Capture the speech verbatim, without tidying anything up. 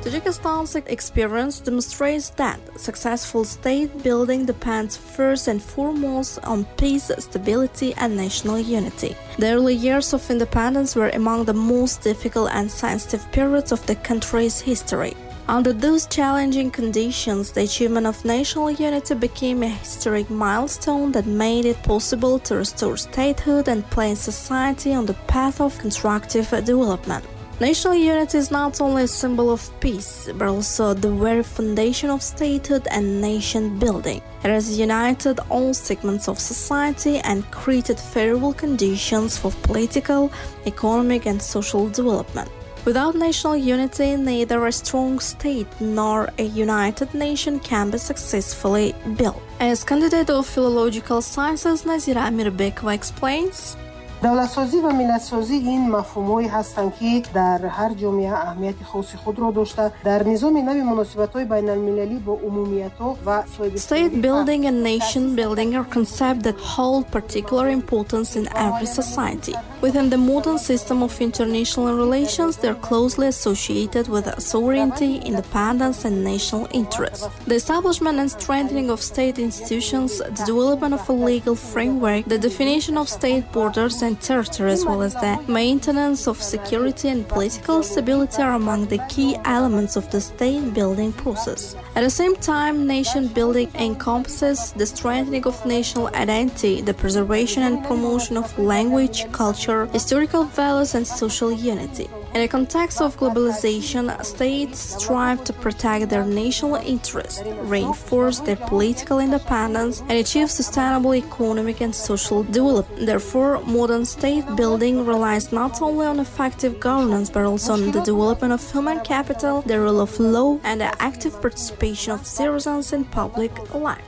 Tajikistan's experience demonstrates that successful state building depends first and foremost on peace, stability, and national unity. The early years of independence were among the most difficult and sensitive periods of the country's history. Under those challenging conditions, the achievement of national unity became a historic milestone that made it possible to restore statehood and place society on the path of constructive development. National unity is not only a symbol of peace, but also the very foundation of statehood and nation building. It has united all segments of society and created favorable conditions for political, economic, and social development. Without national unity, neither a strong state nor a united nation can be successfully built. As candidate of philological sciences Nazira Amirbekova explains, Давлатсозӣ ва миллатсозӣ ин мафҳумҳое ҳастанд, ки дар ҳар ҷомеа аҳамияти хоси худро дошта, дар низоми нави муносибатҳои байналмилалӣ бо умумиятҳо ва State building and nation building are concepts that hold particular importance in every society. Within the modern system of international relations, they are closely associated with sovereignty, independence, and national interests. The establishment and strengthening of state institutions, the development of a legal framework, the definition of state borders and territory, as well as the maintenance of security and political stability are among the key elements of the state building process. At the same time, nation building encompasses the strengthening of national identity, the preservation and promotion of language, culture, historical values, and social unity. In a context of globalization, states strive to protect their national interests, reinforce their political independence, and achieve sustainable economic and social development. Therefore, modern state building relies not only on effective governance but also on the development of human capital, the rule of law, and the active participation of citizens in public life.